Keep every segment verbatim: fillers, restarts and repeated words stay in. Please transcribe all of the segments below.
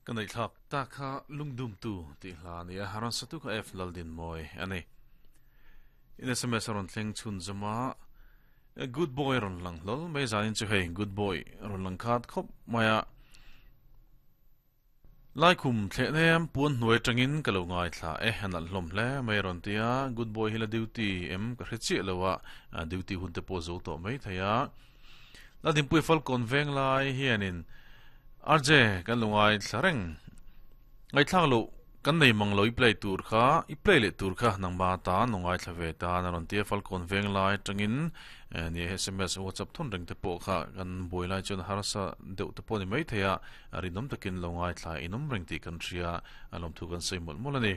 Kan nei thlak ta kha lungdum tu ti hla nia haran satu ka F Laldin moi ani in S M S ron thleng chun zama good boy ron lang lol mai zanin chu hei good boy ron lang khat khop maya lai khum thle nem puan hnuai tangin ka lo ngai thla e han hlom hle mai ron tia good boy hila duty em ka hre chi lowa duty hun te po zo to mai thaya la din pui fal kon veng lai hianin R J kan lungai thlareng ngai thlang lo kan nei mang loi play tur kha i play le tur kha nang ba ta nongai thlave ta na ron tia fal kon veng lai tangin ni S M S WhatsApp thon reng te po kha kan boi lai chon harasa deuh te po ni mai theya rinom takin longai thla inom reng ti kan thria alom thu kan sei mol mol ani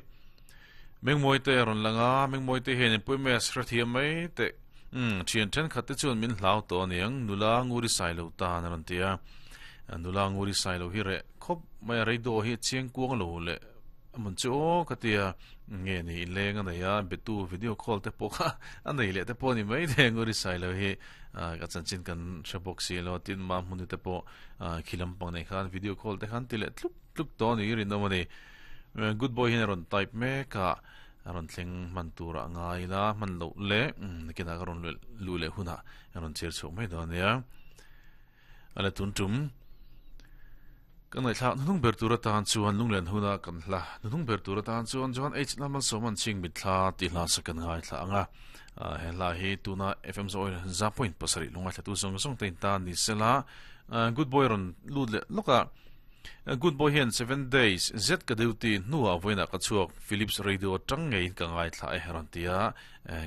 mengmoi te ron langa mengmoi te hen pui me sra thia mai te um thian then khat te chun min hlau to niang nula nguri sai lo ta na ron tia nula nguri sai lo hi re khop mai reido hi chiang kuang lo le mun chu katia nge ni lenga na ya betu video call te po kha anei le te po ni mai de nguri sai lo hi ka chan chin kan shabok si lo tin ma mun te po khilam pang nei khan video call te khan ti le tlup tlup to ni rin no mani good boy hin ron type me ka ron thleng man tura ngai la man lo le kina ka ron lu le huna ron cher chok mai do nia ala tun tum kan nei thla nung ber tura tan chuan lunglen huna kan hla nung ber tura tan chuan chuan h namal soman ching mit thla ti hla sakan ngai thla anga he hla hi tuna F M zo za point pasari lunga thla tu song song tein ta ni sela good boy ron lut le loka good boy hian seven days z ka duty nuwa voina ka chuak Philips radio tang ngei ka ngai thla e heron tia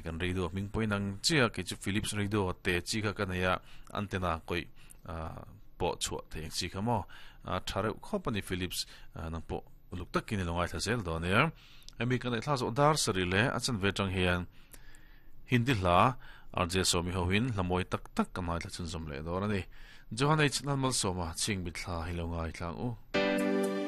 kan radio ming poinang chia ke chu Philips radio te chi kha kanaya antenna koi po chua theng chi kha mo thare khopani Philips nang po uluk takin longai tha zel do ne emi kan thla zo dar sari le achan ve tang hian hindi hla R J somi hoin lamoi tak tak kanai thla chun zom le do ani Johan H Nalmal Soma ching mit thla hi longai thlang u.